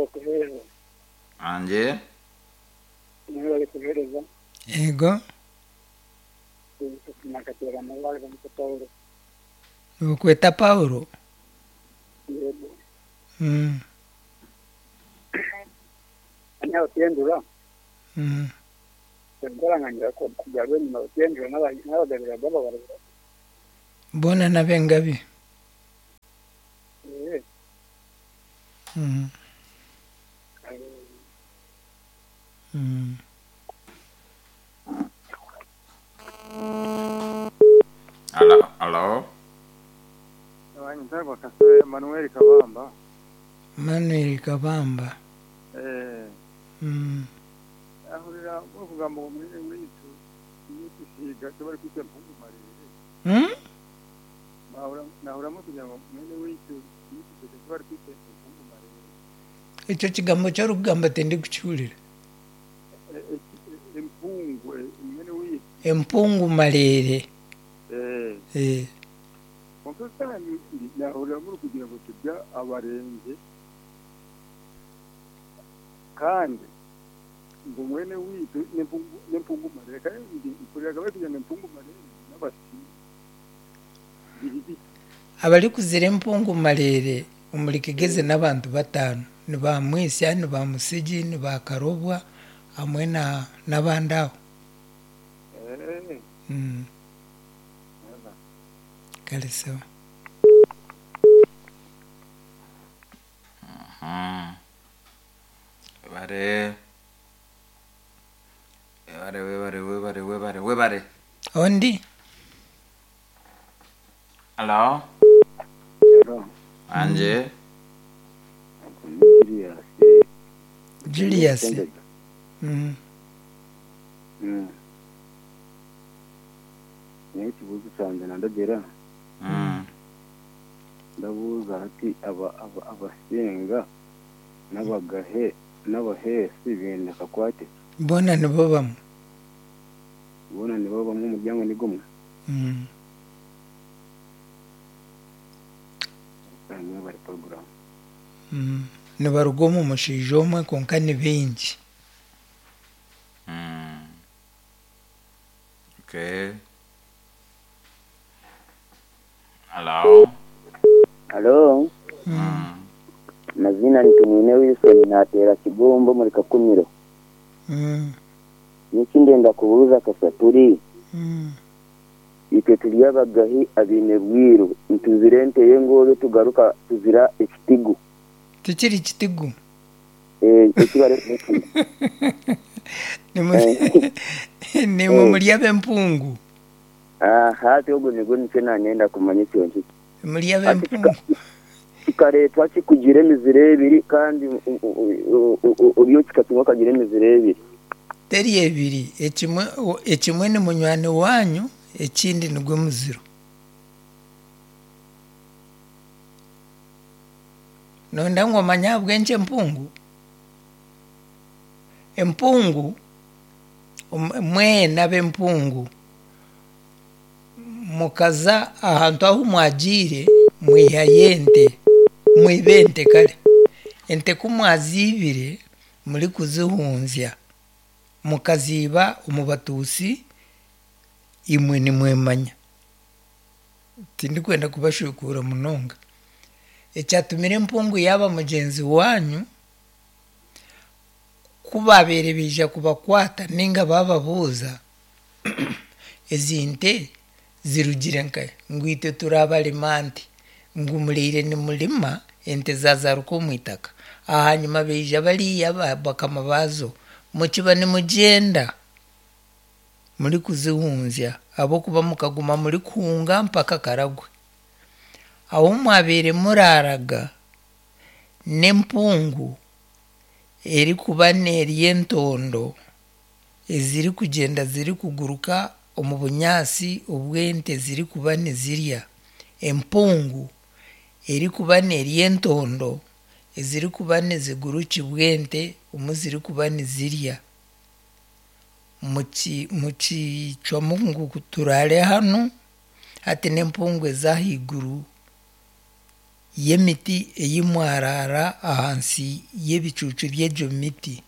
Mwebale kuheereza. Angye. Mwebale kuheereza. Yego. Nakateerana bamweta Paulo. Nibakweta Paulo? Yego. Mm. Nyawe tiyendura. Mm. Enkoranganyira kujya rwenyuma tiyendura n'abagabira b'ababarura. Boona n'ab'engabi. Eh. Mm. Mm. Alo, alo. Ntarwa Kasore Emmanuel Kabamba. Manuel Kabamba. Eh. Mm. Ahurira okugamba ngo mwene witu yitusiga tubari kwita mpungu marere. Mm? Nahura nahuramu kugira ngo mwene witu yitusiga tubari kwita mpungu marere. Ekyo kigambo ky'orikugamba tindikukiwurira. Empungu mwene witu. Empungu marere. Eh. Eh. Konka kandi nahurira muri kugira ngo tujya abarenge kandi ngo mwene witu n'empungu marere kandi mpuriraga bari kugira ngo empungu marere n'abasiga biri biti. Abarikuzira empungu marere omuri Kigezi n'abantu bataano ni ba Mwisya, ni ba Musigi, ni ba Karobwa hamwe na n'abandi aho. Eh. Mm. Kale sawa. Webare. Webare, webare, webare, webare, webare. Ondi? Alo. Hello. Anje. Julius. Julius. Mm. Mm. Naye ekibuuzo kyangye nandagera. Mm. Ndabuuza hati aba aba abasinga n'abagahe n'abaheesi baine akakwate. Boona nibo bamwe. Boona nibo bamwe omuryango ni gumwe. Mm. Bamwe bari porogaramu. Mm. Nibaruga omu mushaija omwe kwonka ni baingi. Mm. Okay. Alo. Halo, Mm. mazina ni Tumwine Wilson nateera Kigombo muri Kakumiro. Mm. Niki ndenda kubuuza Kasaturi, Mm. itwe turi abagahi abaine bwiru, ntuzira ente y'engoobe tugaruka tuzira ekitigu. Tikiri kitigu. Eh, ekibare Nimwe muri ab'empungu. Aha, hati ogwo nigwo nikyo nanyenda kumanya ekyo nkiki. Muri ab'empungu. Kikareetwa kikugira emiziro ebiri kandi oriyo kikatumwa okagira emiziro ebiri. Teri ebiri, ekimwe ekimwe ni munywani wanyu, ekindi nigwe muziro. Nonda ngu omanye ahabw'enki empungu? Empungu mwena ab'empungu mukaza ahantu ahu mwagiire mwihayo ente, mwiba ente kare. Ente ku mwaziibire murikuzihunzya mukaziiba omu batuusi imwe nimwemanya. Tindikwenda kubashukuura munonga. Ekyatumire empungu yaaba mugyenzi wanyu ku baabaire baija kubakwata ninga bababuuza ezi nte zirugire nkahi ngu itwe turi abarima nte ngu muriire nimurima ente zazaruka omu itaka. Ahanyuma baija bariya bakama baazo mukiba nimugyenda murikuzihunzya ahabw'okuba mukaguma murikuhunga mpaka Karagwe. Ahu mwabaire muraaraga n'empungu erikuba neerya entondo ezirikugyenda zirikuguruka omu bunyaasi obw'ente zirikuba nizirya. Empungu erikuba neerya entondo ezirikuba nizigurukibwa ente omu zirikuba nizirya. Mukicwamu ngu turaare hanu hati n'empungu ez'ahaiguru. y'emiti ei mwaraara ahansi y'ebicuucu by'egyo miti.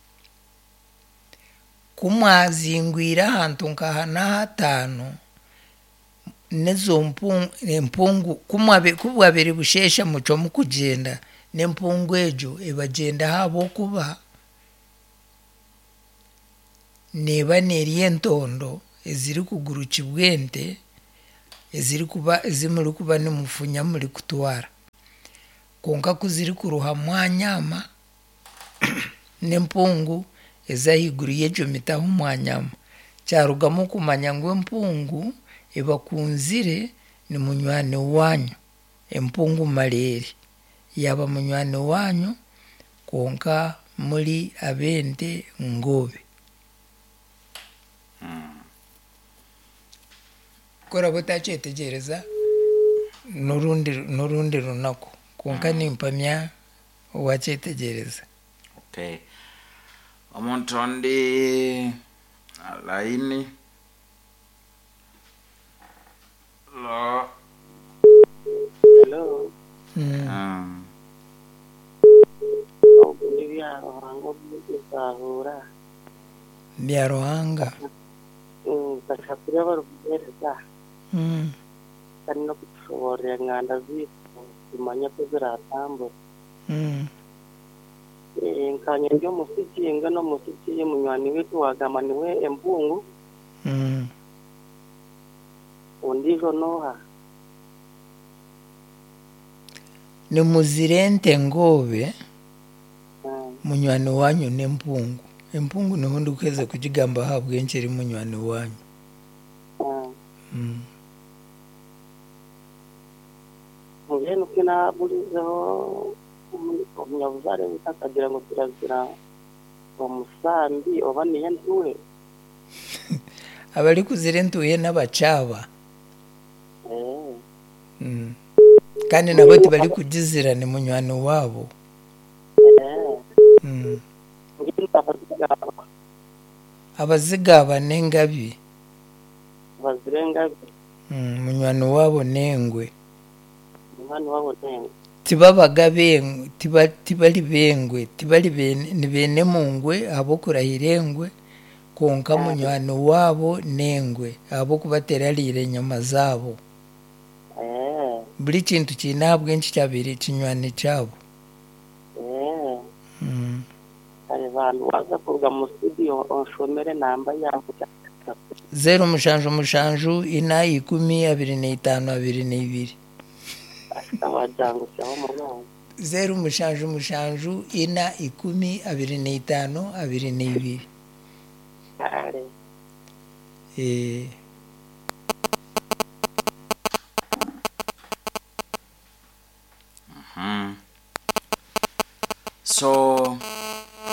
Ku mwazingwire ahantu nka hana hataano, n'ezo empungu ku bwabaire busheesha mucwamu kugyenda, n'empungu egyo ebagyendaho ahabw'okuba neeba nerya entondo ezirikugurukibwa ente ezirikuba ezi murikuba nimufunya murikutwara. Kwonka ku zirikuruha mwanyama n'empungu ez'ahaiguru y'egyo miti ahu mwanyama, kyarugamu kumanya ngu empungu ebakunzire ni munywani waanyu. Empungu mareere yaaba munywani waanyu kwonka muri ab'ente ngoobe. Ku oraabe otakyetegyereza n'orundi n'orundi runaku kwonka nimpamya waakyetegyereza. Okay. Omuntu ondi line. Hello. Hello. Ogu ni Byaruhanga Omuzahuura. Byaruhanga. Bashatu abarikuheereza kandi n'okutushoboororera enganda zaitu tumanye oku ziratambura. Nkanye ndi omusigi, mbwenu omusigi munywani waitu waagamba niwe embungu, ondiijo n'oha? Nimuzira ente ngoobe, munywani waanyu n'empungu. Empungu niho ndikuheeza kugigamba ahabw'enki eri munywani waanyu. Mbwenu ku naaburizeho omunyabuzaare waitu akagira ngu turazira omusambi oba niyo entuhe. Abarikuzira entuhe n'abakyaba. Kandi nabo tibarikugizira ni munywani waabo. Mbwenu abazigaba? Abazigaba n'engabi. Bazira engabi. Munywani waabo n'engwe. Munywani waabo n'engwe. Tibabaga bengwe, tibari bengwe, tibari ni beene mungwe ahabw'okurahira engwe, kwonka munywani waabo n'engwe ahabw'okuba terariire enyama zaabo. Buri kintu kiine ahabw'enki kyabaire kinywani kyabo. Kare bantu waza kuruga mu studio onshomere namba yawe. 0 7 7 4 10 25 22. Wajangusyaho munonga. 0 7 7 4 10 25 22. Kare. So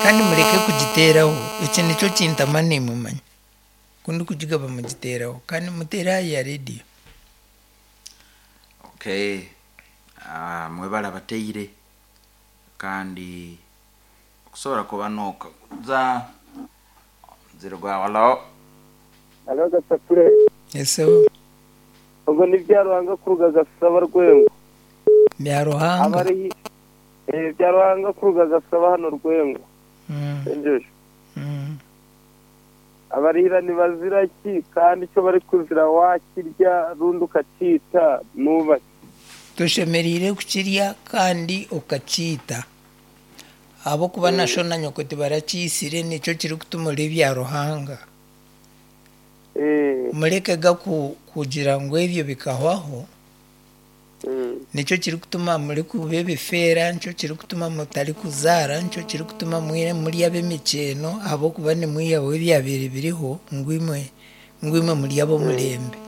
Kandi mureke kugiteeraho, eki nikyo kintama nimumanya. Ku ndikugigaba mugiteeraho kandi muteere aha ya rediyo. Okay. Mwebale abateire kandi okusobola kuba nokaguza omuziro gwawe. Hello. Halo Gasakure. Eseho. Ubwo ni Byaruhanga kuruga Gasaba Rwengo. Byaruhanga. Abari Byaruhanga kuruga Gasaba hano Rwengo. Enjojo. Abarihira nibazira ki kandi icyo bari kuzira wakirya rundi ukacyita nubake? Toshemereire kukirya kandi okakiita. Ahabw'okuba na sho na nyoko tibarakiisire nikyo kirikutuma ori Byaruhanga. Murekega kugira ngu ebyo bikahwaho, nikyo kirikutuma murikuba ebifeera, nikyo kirikutuma mutarikuzaara, nikyo kirikutuma muri ab'emikyeno ahabw'okuba nimwihaho ebyabaire biriho ngu imwe muri ab'omurembe.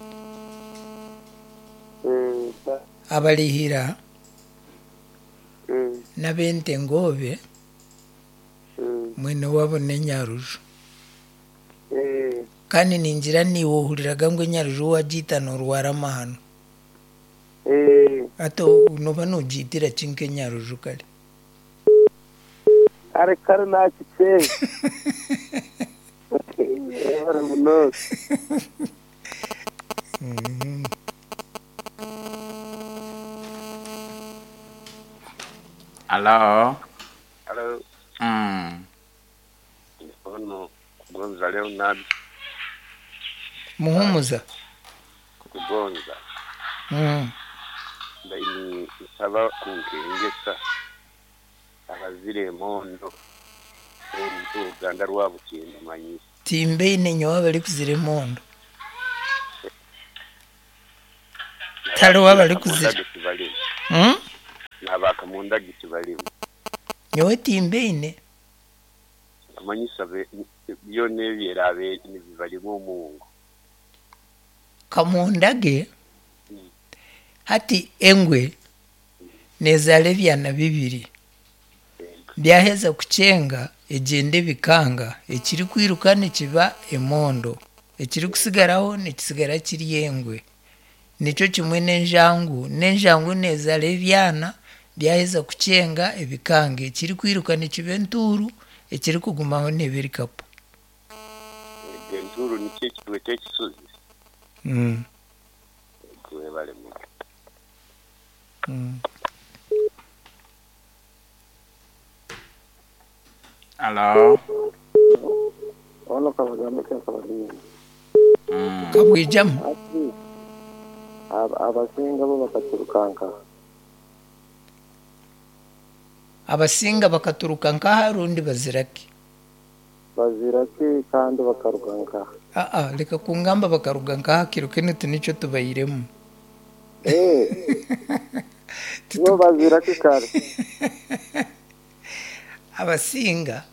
Abarihira n'ab'ente ngoobe, mwene waabo n'enyaruju. Kandi ningira niiwe ohuriraga ngu enyaruju waagiita noorwara amahano. Hati nooba noogiitira ki nk'enyaruju kare? Kare kare nakikyeeye. Webale munonga. Alo. Halo, Mm. ono Kugonza Leonard Muhumuza. Kugonza. Mm. Ndaini nsaba kunkengesa abazire emondo oruganda rwa Bukindu manyi. Timbeine nyowe abarikuzira emondo. Tariho abarikuzira. Tibalimu. Mm? N'abakamundagi tibalimu. Nyowe timbeine. Amanyisa byona ebyerabe nibibalimu omungu. Kamundage hati engwe nezaara ebyana bibiri. Byaheza kucenga egyenda ebikanga, ekirikwiruka nikiba emondo, ekirikusigaraho nikisigara kiri engwe. Nikyo kimwe n'enjangu, n'enjangu nezaara ebyana byaheza kucenga ebikanga, ekirikwiruka nikiba entuuru, ekirikugumaho neeba erikapu. Ego entuuru nikyo ekitweta ekisozi. Mm. Webalemu. Mm. Alo. Ono kabagambe kabagambe. Mm. Kabwijamu. Ati abasinga bo bakaturukanka. Abasinga bakaturuka nkaha rundi baziraki. Baziraki kandi bakaruga nkaha. Aa, reka kungamba bakaruga nkaha kiro kinu tinikyo tubairemu. Bo baziraki kare. Abasinga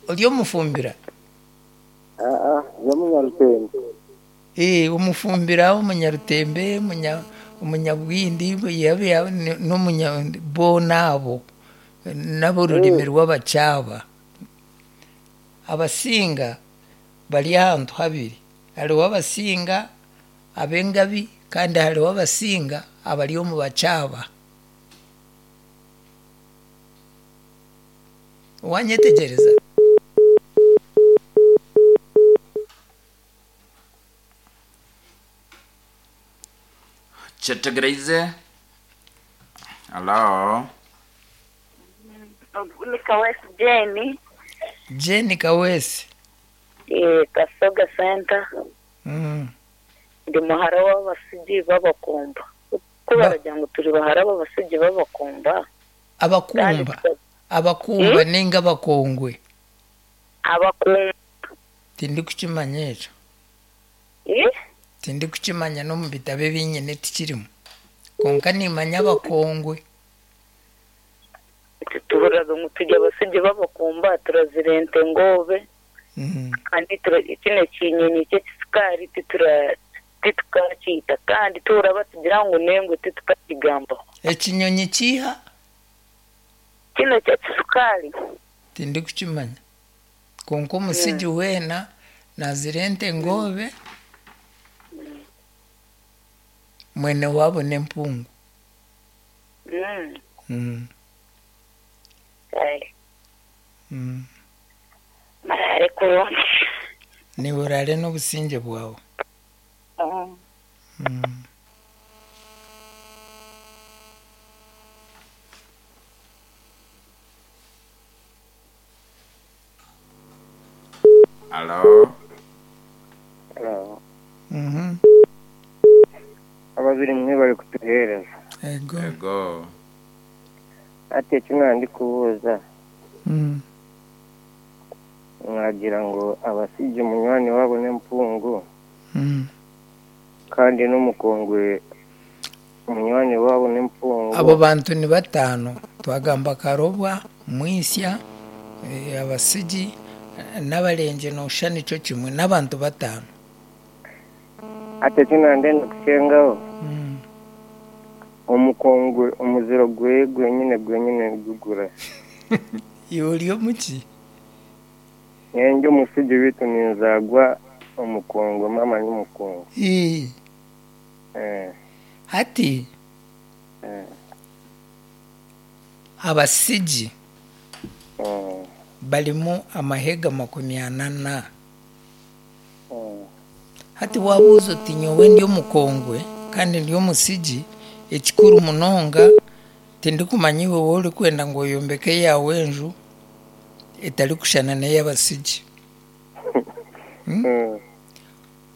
ori omufumbira? Aa, ndi omunyarutembe. Omufumbira, omunyarutembe, omunyabwindi, n'omunya boona abo n'aborurimi rw'abakyaba. Abasinga bari ahantu habiri, hariho abasinga ab'engabi kandi hariho abasinga abari omu bakyaba. Wanyetegyereza? Kyetegereize. Alo. Ni Kawesi Jane, Jane Kawesi. Kasoga Center. Mm. Ndi muhara w'abasigi b'abakumba. Kuko baragira ngo turi bahara b'abasigi b'abakumba. Abakumba. Abakumba ninga abakongwe. Abakumba. Tindikukimanya ekyo. Tindikukimanya n'omu bitabo ebinyine tikirimu. Konka nimanya abakongwe. Tuhuraga ngu turi abasigi b'abakumba turazira ente ngobe. Kandi kino kinyonyi ky'ekisikaari titukakiita kandi tuhura batugira ngu nengwe titukakigambaho. Ekinyonyi kiiha? Kino ky'ekisikaari. Tindikukimanya. Konka omusigi weena nazira ente ngobe mwene waabo n'empungu. Mm. Mm. Marare kurungi. Niwe orare n'obusingye bwawe. Mm. Alo. Hello. Mhm. Ababiri mwe bari kutuhereza. Ego. Ego. Ati eki nandikubuuza. Mm. Mwagira ngo abasigi munywani wabo n'empungu. Mm. Kandi n'omukongwe munywani wabo n'empungu. Abo bantu ni batano. Twagamba Karobwa, Mwisya, abasigi n'abarenje nosha nikyo kimwe n'abantu batano. Ati eki nandenda kucengaho. Mm. Omukongwe omuziro gwe gwenyine gwenyine gugura. Iwe ori omuki? Nyenje omusigi witu ninzagwa omukongwe mama n'omukongwe. Hati abasigi barimu amahega 44. Hati wabuuza oti nyowe ndi omukongwe kandi ndi omusigi, ekikuru munonga Tindikumanya iwe waaba orikwenda ngu oyombeke eyaawe enju etarikushushana n'ey'abasigi.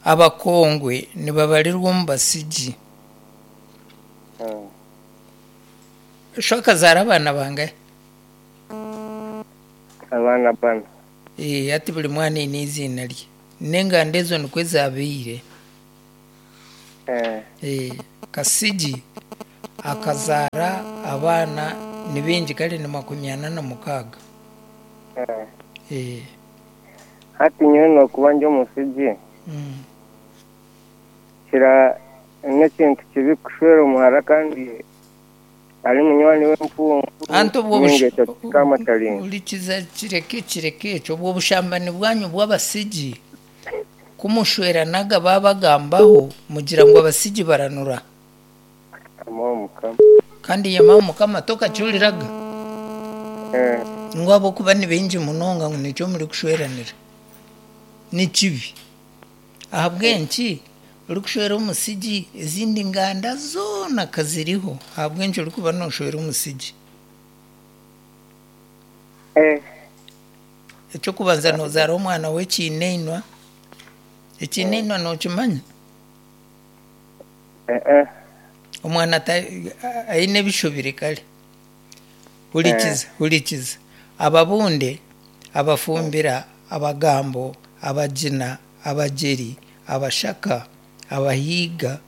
Abakongwe nibabarirwa omu basigi. Sho akazaara abaana bangahi? Abaana bana. Hati buri mwana aine eiziina rye. N'enganda ezo nikwo zaabaire. Kasigi akazaara abaana ni baingi kare ni 46. Hati nyowe nokuba ndi omusigi, kira n'ekintu kibi kushwera omuhara kandi ari munywani w'empungu Anti obwo ninga ekyo kikaamataringa. Hurikiza kireke kireke ekyo obwo bushambani bwanyu bw'abasigi kumushweranaga babagambaho mugira ngu abasigi baranura. Yamaho Mukama. Kandi yamaho Mukama tokakihuriraga? Ngu ahabw'okuba ni baingi munonga ngu nikyo murikushweranira. Ni kibi. Ahabw'enki orikushwera omusigi ezindi nganda zoona kaziriho ahabw'enki orikuba nooshwera omusigi? Eky'okubanza noozaara omwana w'ekiineinwa. Ekiineinwa nookimanya? Omwana aine ebishobire kare. Hurikiza, hurikiza. Ababunde, abafumbira, abagambo, abagina, abagyeri, abashaka, abahiiga,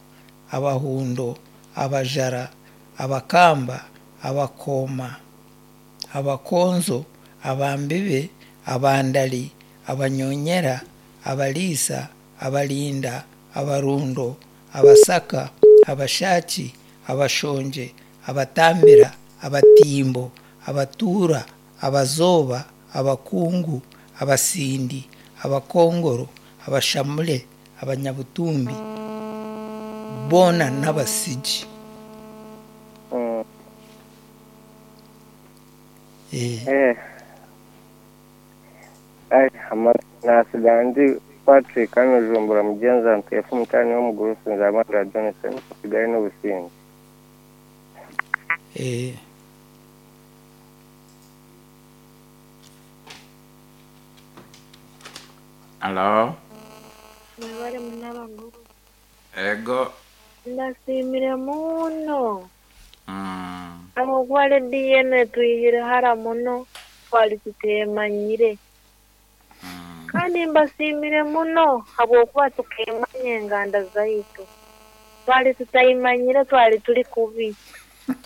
abahundo, abajara, abakamba, abakooma, abakonzo, abambibe, abandari, abanyonyera, abariisa, abarinda, abarundo, abasaka, abashaaki, abashongye, abatambira, abatimbo, abatuura, abazooba, abakungu, abasindi, abakongoro, abashamure, abanyabutumbi, boona n'abasigi. Naatsiga ndi Patrick hano Rujumbura mugyenzi ntuye mutaani w'omugurusi Nzabandora Jonathan nsigaye n'obusinge. Alo. Mwebale munabaguru. Ego. Ndasiimire muno. Ahabw'okuba rediyo enu etwihire hara muno twari tuteemanyire. Kandi mbasiimire muno ahabw'okuba tukeemanya enganda zaitu. Twari tutayimanyire twari turi kubi.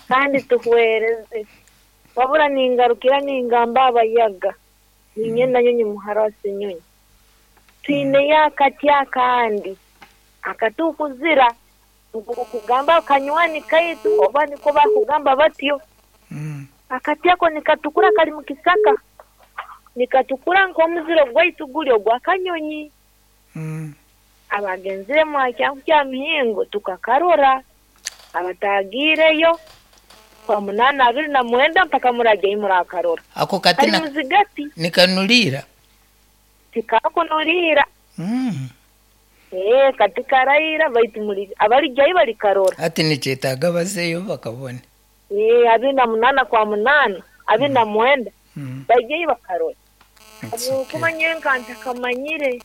Kandi tuhwereze. Wabura ningarukira ningamba abayaga. Ninye nanyonyi muhara wa Senyonyi. Twineyo akati akandi akatukuzira kugamba kanywani kaitu oba niko bakugamba batyo. Akati ako nikatukura kari mu kisaka. Nikatukura nk'omuziro gwaitu guri ogwa kanyonyi. Abagenzire mwakyangu kya mihingo tukakarora. Abatagiireyo kwa 8 29 mpaka muragye murakarora. Ako kati kari muzigati. Nikanurira. Tikakunurira. Kati karayira baitu muri abarijyayo barikarora. Ati nikyetaaga bazeyo bakabone. 28 kwa 8, 29 bajyayo bakarora. Okumanya nka ntakamanyire.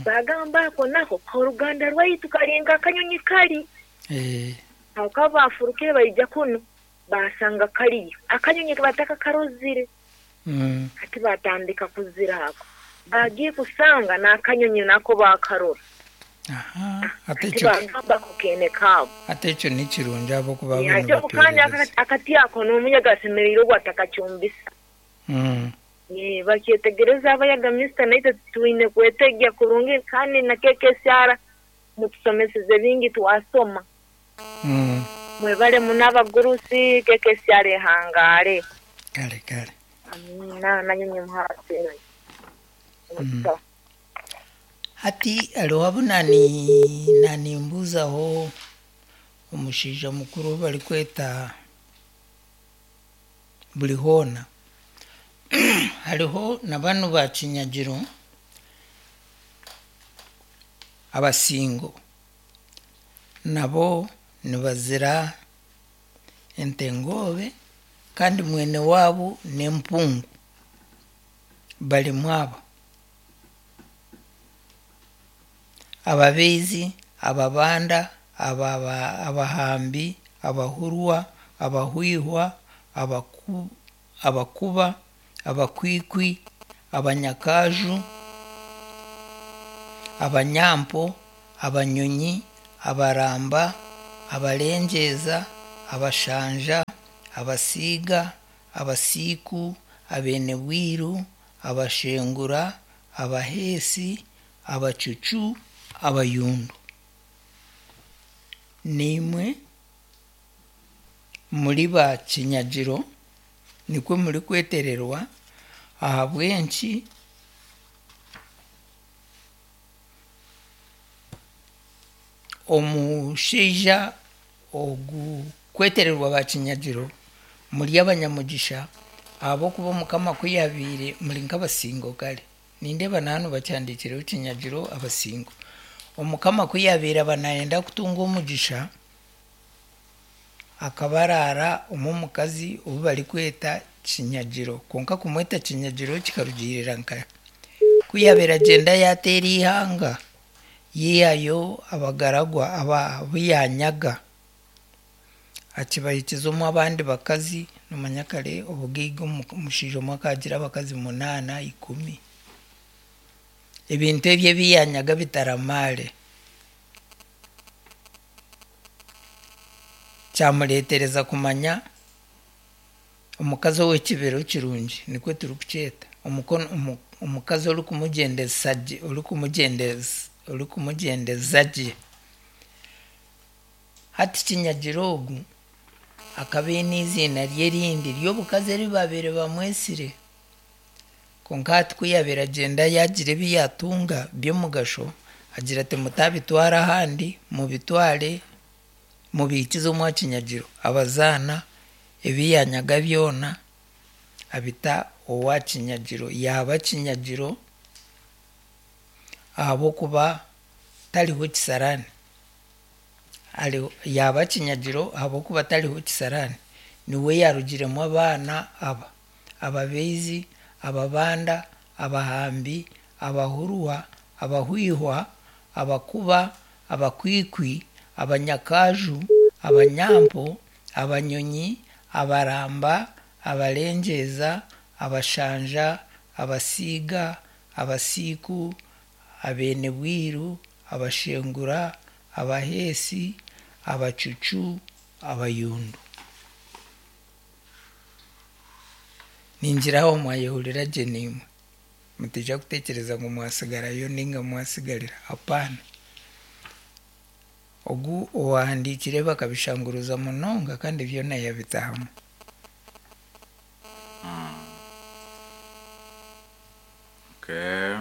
Bagamba ako nako oruganda rwaitu karinga akanyonyi kari. Aho kabafurukire baija kuno basanga kariyo. Akanyonyi batakakarozire. Ati batandika kuzira ako. Bagiye kusanga n'akanyonyi nako bakarora. Ate kukene kabo. Ate ekyo ni kirungi ahabw'okuba Ate kandi akati ako n'omuyaga asemereire ogu atakakyumbisa. Bakyetegereza abayaga minisita naitwe twine kwetegya kurungi kandi na KKCR mutusomeseze bingi twasoma. Mwebale muno abagurusi KKCR ehangare. Kare kare. Amina nanyonyi muhara Senyonyi. Hati hariho abu nanimbuzaho omushaija mukuru barikweta buri hoona. Hariho na banu ba Kinyagiro abasingo nabo nibazira Ente Ngoobe kandi mwene waabo n'empungu. Barimu aba: Ababaizi, Ababanda, Abahambi, Abahurwa, Abahwihwa, Abakuba, Abakwikwi, Abanyakaju, Abanyampo, Abanyonyi, Abaramba, Abarengyeza, Abashanja, Abasiiga, Abasiiku, Abeene-Bwiru, Abashengura, Abaheesi, Abacucu, Abayundu. Naimwe muri ba kinyagiro nikwo murikwetererwa ahabw'enki omushaija ogu kwetererwa ba kinyagiro muri abanyamugisha ahabw'okuba Omukama ku yaabaire muri nk'abasingo kare. Nindeeba na hanu bakihandiikireho kinyagiro abasingo. Omukama ku yaabaire aba naayenda kutunga omugisha, akaba araara omu omukazi ou barikweta kinyagiro. Kwonka kumweta kinyagiro kikarugiirira nka ku yaabaire agyenda yaateera eihanga, yaihayo abagaragwa abu yaanyaga akibahikiza omu abandi bakazi. Noomanya kare obugaiga omushaija omwe akaagira abakazi munaana, ikumi. Ebintu ebyo ebi yaanyaga bitaramaare. Kyamureetereza kumanya omukazi ow'ekibero kirungi nikwo turikukyeta. Omukazi orikumugyendesa gye orikumugyendeza gye. Hati Kinyagira ogu akaba aine eiziina rye erindi ry'obukazi eri baabaire bamwetsire. Kwonka hati ku yaabaire agyenda yaagira ebi yaatunga by'omugasho, agira ati mutabitwara ahandi, mubitware mubihikize omwa Kinyagiro. Abazaana ebi yaanyaga byona abita owa Kinyagiro. Yaaba Kinyagiro ahabw'okuba tariho kisaraani. Yaaba Kinyagiro ahabw'okuba tariho kisaraani. Niwe yaarugiremu abaana aba: Ababaizi, Ababanda, Abahambi, Abahurwa, Abahwihwa, Abakuba, Abakwikwi, Abanyakaju, Abanyampo, Abanyonyi, Abaramba, Abarengyeza, Abashanja, Abasiiga, Abasiiku, Abeene-Bwiru, Abashengura, Abaheesi, Abacucu, Abayundu. Ningira aho mwayehurira gye naimwe. Mutaija kutekyereza ngu mwasigarayo nainga mwasigarira. Hapaana. Ogu owahandiikire bakabishanguruza munonga kandi byona yabita hamwe. Okay.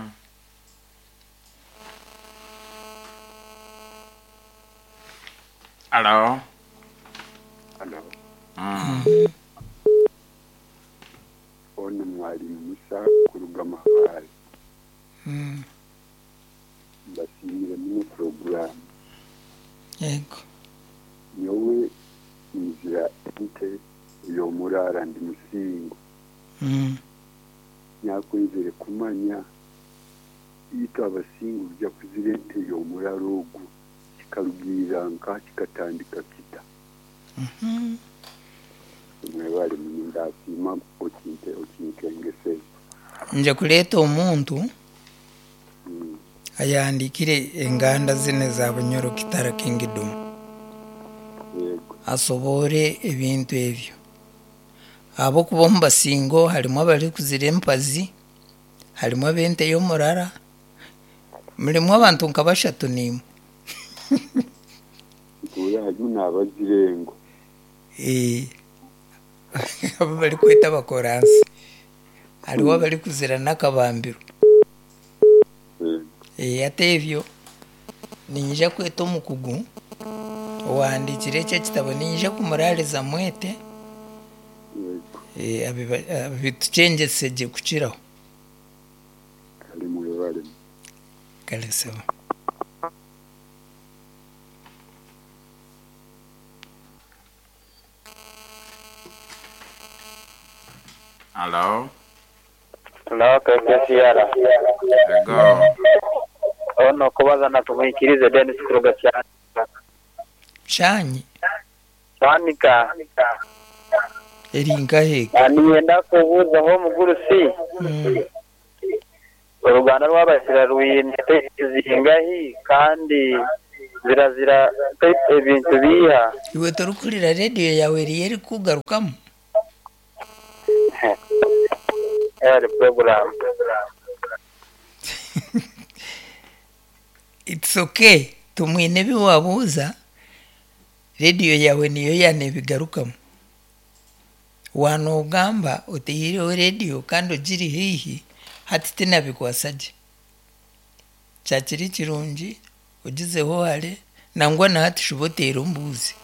Hello. Hello. Ono mwalimu Musa kuruga Mabaare. Mbasiimire muno puroguraamu. Yego. Nyowe nzira ente ey'omuraara ndi Musingo. Naakwenzire kumanya itwe Abasingo kuja kuzira ente y'omurara ogu kikarugiirira nkaha kikatandika kita? Mwebare muno ndasiima okinkengeseze. Nje kureeta omuntu ayahandiikire enganda zinu eza Bunyoro Kitara Kingdom. Yego. Asoboore ebintu ebyo. Ahabw'okuba omu Basingo harimu abarikuzira empazi, harimu ab'ente y'omurara, murimu abantu nka bashatu naimwe. Ntuura harimu n'abazira engo. Abu barikweta abakoransi. Hariho abarikuzira n'akabambiro. Hati ebyo niinyija kweta omukugu owahandiikire eki ekitabo niinyija kumuraariza mwete abitukyengese gye kukiraho. Kare mwebare. Kare sebo. Hello. Hello, KKCR. Ego. Ono kubaza na tumwikirize Dennis kuruga Kyanika. Kyanyi? Kyanika. Eri nkahe? Niinyenda kubuuzaho omugurusi. Oruganda rw'Abasira rwine zingahi kandi zirazira ebintu biiha? Iwe torikuhurira rediyo yaawe eriyo erikukugarukamu? Eri puroguraamu. It's okay. Tumwine ebi waabuuza, rediyo yaawe niyo yaaneebigarukamu. Waanoogamba oteihireho rediyo kandi ogiri haihi, hati tinabikwasa gye. Kyakiri kirungi ogizeho hare, nangwa na hati shuba oteere ombuuze.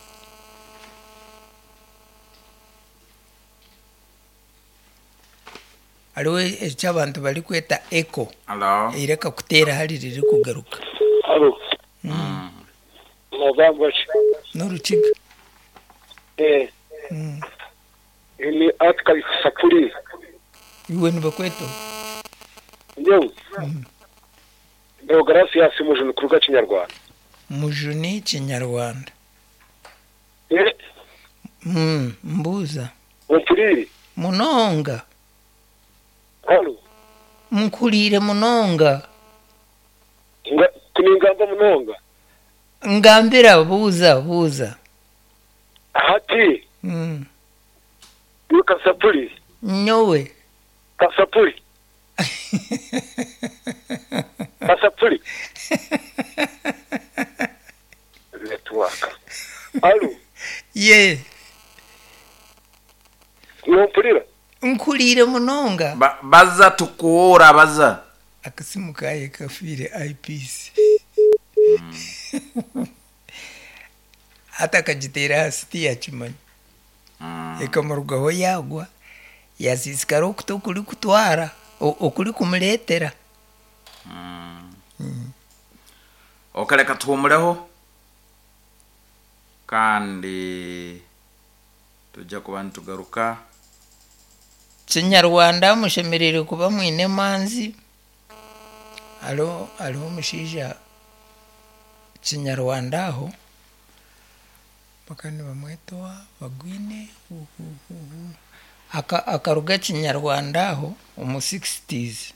Hariho eki abantu barikweta echo. Hello. Eiraka kuteera hari ririkugaruka. Halo. Nogamba ki? N'orukiga. Eh. Ni Atika Sapuri. Iwe nibakweta oha? Nyowe? Deogratias Mujuni kuruga Kinyarwanda. Mujuni Kinyarwanda. Eh. Mbuuza. Ompuriire? Munonga. Halo. Nkuhuriire munonga. Nga ku ningamba munonga. Ngambira buuza buuza. Hati. Iwe Kasapuri. Nyowe. Kasapuri. Kasapuri. Network. Halo. Ye. Nompurira? Nkuhuriire munonga. Ba, baza tukuura baza. Akasimu kaye kafiire IPC. Hati akagiteera ahansi tiyakimanya. Ekamurugaho yaagwa, yaasiisikara okuta okurikutwara, okurikumureetera. Ok reka tuhumureho kandi tujya kuba nitugaruka. Kinyarwanda mushemereire kuba mwine emanzi. Hariho hariho omushaija Kinyarwanda aho bakaba nibamweta owa Bagwine akaruga Kinyarwanda aho omu sixties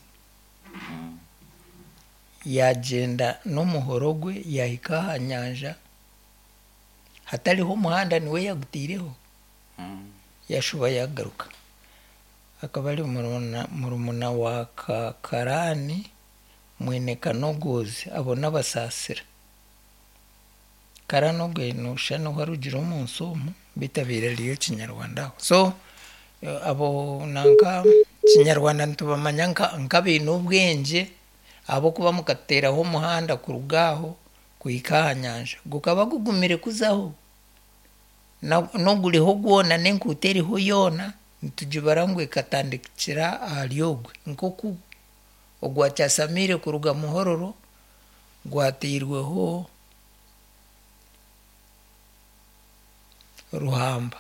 yaagyenda n'omuhoro gwe yaahika aha nyanja hatariho omuhanda niwe yaagutaireho yaashuba yaagaruka. Akaba ari murumuna wa Karani mwene Kanogozi abo n'Abasaasira. Karani ogwe nooshusha niho arugire omu nsi omu beitu abaire ariyo Kinyarwanda aho. So abo nanka Kinyarwanda nitubamanya nk'abaine obwengye ahabw'okuba mukatuteeraho omuhanda kuruga aho kuhika aha nyanja. Gukaba gugumire kuzaho. N'oguriho gwona n'enkuuto eriho yoona nitugibara ngu ekatandikira ahari ogwe. Nk'oku ogwa Kyasamiire kuruga Muhororo gwateirweho Ruhamba.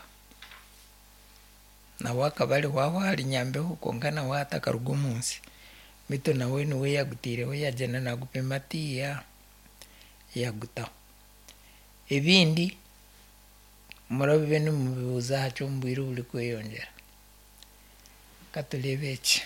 Nawe akaba ariho aho ahari Nyambeho kwonka nawe hati akaruga omu nsi. Beitu nawe niwe yaagutaireho yaagyenda naagupima atiiya yaagutaho. Ebindi murabibe nimubibuuza aha ky'omu bwire oburikweyongyera. Ka tureebe eki.